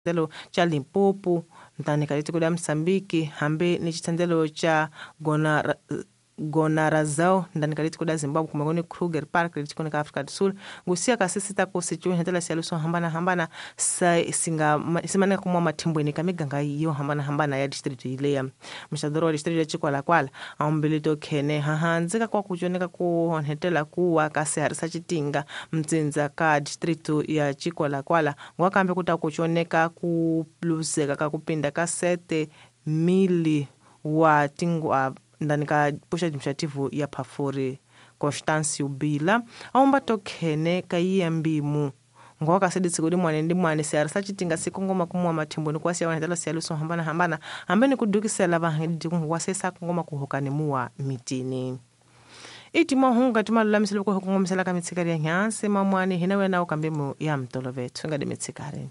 Xitendelo xa Limpopo ntani ka tiko la Moçambique hambi ni xitendelo xa Gonarazao ndani ka tiko la Zimbabwe kumbe ni Kruger Park leti ka Afrika do Sul ngusiya ka sisita ku sicuhetela siyalu swo hambanahambana singa simaneka kuma mathimbweni ka miganga yo hambanahambana ya district yileya muxadoro wa district ya Chikwalakwala ambili to khene hahandzi ka kwa kuconeka ku onhetela kuwa ka sihari sa Chitinga mtsindza ka district ya Chikwalakwala ngwakambe ku ta kuconeka ku luzeka ka kupinda ka 7 mili wa tingwa ndani ka puxa administrativo ya Phafuri Constâncio Bila aumba tokhene ka iya mbimu ngoka seditsiko limwane ndi mwane sihari sa Chitinga sikongoma kumuwa mathimboni kwasiya wanhetela siyalu swo hambanahambana hambi ni kudukisela vahangedi kunguwasesa kongoma kuhokani muwa mitini iti mahungu kati malulamiselo ku kongomisela ka mitshikari ya nyansi mamwani hina wena u kambe mu ya mtolovetho ngadi mitshikari.